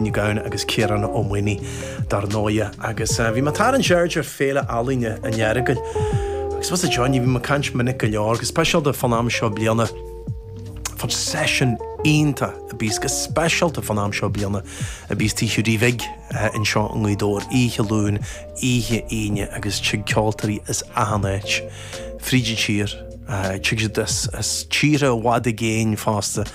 Ní Gabhann agus Ciarán Ó Maonaigh dar ndóighe. Agus bhí mé ag tarraingt aird ar Féile Ealaíne an Earagail agus bhfuil a fhios agat Johnny, bhí mé ag caint minic go leor, go speisialta fán am seo bliana, fán seisiún iontach a bíos go speisialta fán am seo bliana a bíos Tigh Hiúdaí Bhig anseo i nGaoth Dobhair, oíche Luain, oíche Aoine agus tig ceoltóirí as achan áit fríd an tír, tig siad as tíortha i bhfad i gcéin fosta.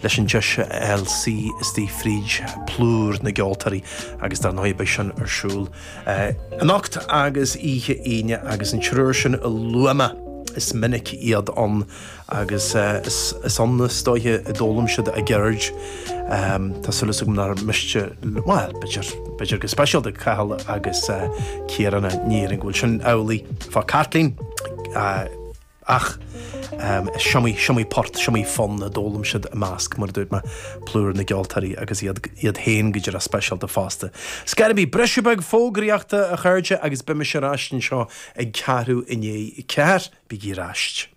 leis an deis a fháil suí istigh fríd plúr na gceoltóirí agus dar ndóigh beidh sin ar siúl anocht agus oíche Aoine agus an triúr sin a luaigh mé is minic iad ann agus is ann is dóiche a d'fhoghlaim siad a gceird. Tá súil agam nár miste, bhuel, b'fhéidir, b'fhéidir go speisialta Cathal agus Ciarán, ní déarfainn go bhfuil sin amhlaidh fá Caitlín. Ach is iomaí, is iomaí port, is iomaí fonn a d'fhoghlaim siad i measc, mar a dúirt mé, plúr na gceoltóirí agus iad, iad féin go díreach speisialta fosta. Scairbí, briseadh beag fógraíochta, a chairde, agus beidh mise ar ais anseo ag ceathrú i ndiaidh a ceathair. Bígí ar ais.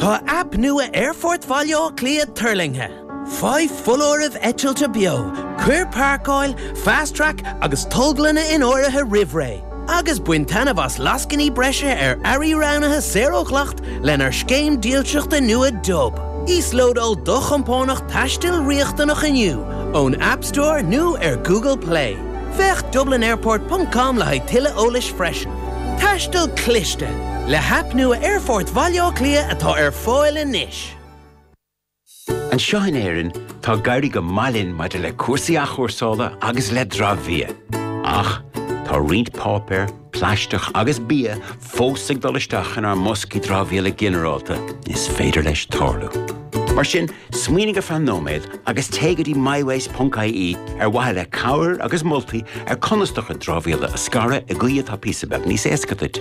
Tá aip nua Aerfort Bhaile Átha Cliath tuirlingthe. Faigh foláirimh eitilte beo, cuir páirceáil, Fast Track agus tolglanna in áirithe roimh ré, agus bain taitneamh as lascainí breise ar earraí roghnaithe saor ó dhleacht lenár scéim dílseachta nua Dub. Íoslódáil do chompánach taistil riachtanach inniu ón App Store nó ar Google Play. Féach dublinairport ponc com le haghaidh tuilleadh eolais freisin. Taisteal cliste! Le haip nua Aerfort Bhaile Átha Cliath atá ar fáil anois. Anseo in Éirinn, tá ag éirí go maith linn maidir le cúrsaí athchúrsála agus le dramhbhia. Ach tá roinnt páipéar, plaisteach agus bia fós ag dul isteach inár mboscaí dramhaíola ginearálta, is féidir leis tarlú. Mar sin, Smaoinigh ar feadh nóiméad agus téigh go dtí mywaste.ie ar mhaithe le cabhair agus moltaí ar conas do chuid dramhaíola a scaradh i gcaoi atá píosa beag níos éasca duit.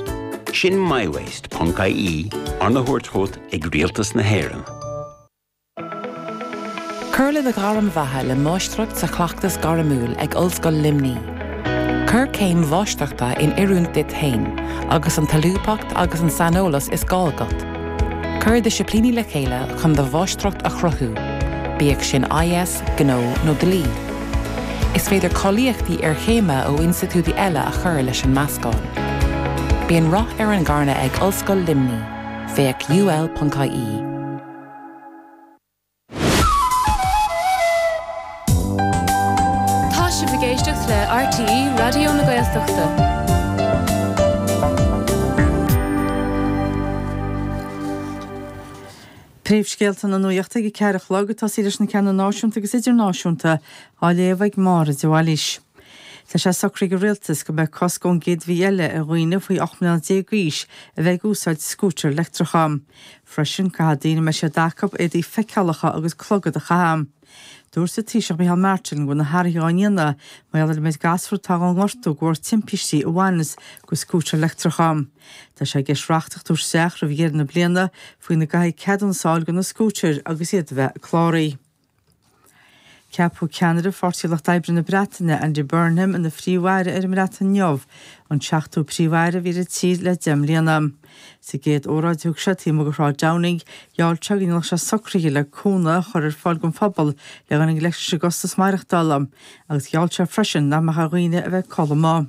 Sin mywaste.ie, arna thabhairt chugat ag Rialtas na hÉireann. Cuir le do ghairm bheatha le Máistreacht sa Chleachtas Gairmiúil ag Ollscoil Luimnigh. Cuir céim mháistreachta in oiriúint duit féin agus an tsolúbthacht agus an saineolas is gá agat. Cuir disciplíní le chéile chun do mháistreacht a chruthú, bíodh sin IS, Gnó nó Dlí. Is féidir cáilíochtaí iarchéime ó institiúidí eile a chur leis an meascán. Bíonn rath ar an gcarnadh ag Ollscoil Luimnigh, féach ul.ie. Tá sibh ag éisteacht le RTÉ Raidió na Gaeltachta. Príomhscéalta na nuachta ag a 4 a chlog, ag tosaí leis na ceanna náisiúnta agus idirnáisiúnta, á léamh ag Máire de Bhailís. Tá sé socraithe ag an Rialtas go mbeidh cosc ón gcéad mhí eile ar dhaoine faoi 18 mbliana d'aois a bheith ag úsáid scútair leictreacha. Freisin, caithfidh daoine a mbeidh siad acu éadaí feiceálacha agus clogad a chaitheamh. Dúirt an Taoiseach Micheál Martin go bhfuil na hathruithe á ndéanamh mar gheall ar an méid gasúr atá á ngortú de bharr timpistí a bhaineanns go scútair leictreacha. Tá sé i gceist reachtaíocht a thabhairt isteach roimh dheireadh na bliana faoina gcaithfidh ceadúnas a fháil do na scútair agus iad a bheith cláraithe. Ceapadh ceannaire Pháirtí Lucht Oibre na Breataine, Andy Burnham, ina Phríomh-Aire ar an mBreatain inniu, an seachtú Príomh-Aire a bhí ar an tír le deich mbliana. Sa gcéad óráid a thug sé taobh amuigh de Shráid Downing, gheall sé go ndéanfadh sé socruithe le cúnamh a chur ar fáil don phobal le dhul i ngleic leis an gcostas maireachtála, agus gheall sé freisin nach mbeadh ar dhaoine a bheith ag codladh amuigh.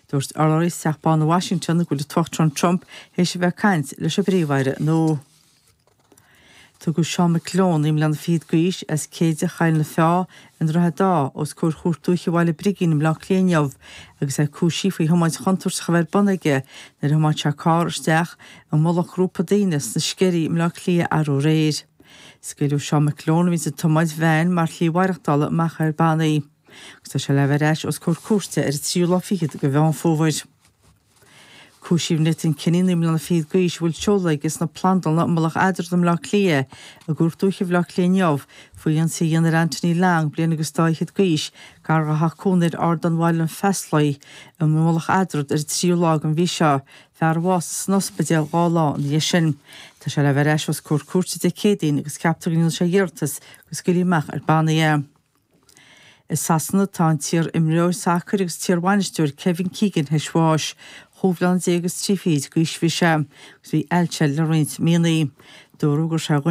Dúirt urlabhraí as Teach Bán i Washington go bhfuil an tUachtarán Trump théis a bheith ag caint leis an bPríomh-Aire nua. Tugadh Seán McGlone, 9 mbliana fichead d'aois, as Céide Choill na Feá i nDroichead Átha, os comhair Chúirt Dúiche Bhaile Brigín i mBleá Cliath inniu agus é cúisithe faoi thiomáint chontúirteach a bheith ar bun aige nuair a thiomáin sé carr isteach i mullach grúpa daoine sna Sceirí i mBleá Cliath arú aréir. Scaoileadh Seán McGlone, a bhíonns ag tiomáint veain mar shlí mhaireachtála, amach ar bannaí agus tá sé le bheith ar ais os comhair cúirte ar an tríú lá fichead de Mheán Fómhair. Cúisíodh Nathan Kenny, 9 mbliana fichead d'aois, a bhfuil seoladh aige sna Plandlanna i Mullach Eadrad i mBleá Cliath, i gCúirt Dúiche Bhaile Átha Cliath inniu, faoi ionsaí a dhéanamh ar Anthony Long, bliain agus dá fhichead d'aois, gar dá theach cónaithe ar Ardán Bhaile an Pheasláigh i Mullach Eadrad ar an tríú lá den mhí seo, fear a bhásaigh san ospidéal 2 lá ina dhiaidh sin. Tá sé le bheith ar ais os comhair cúirte Dé Céadaoin agus ceaptar go ndéanfaidh sé iarratas go scaoilfí amach ar bannaí é. I Sasana tá an t-iar-imreoir sacair agus t-iar-bhainisteoir Kevin Keegan théis bháis. Chúig bhliana déag agus trí fichid d'aois a bhí sé, agus bhí ailse air le roinnt míonna. Dúradh gur sé dhuine.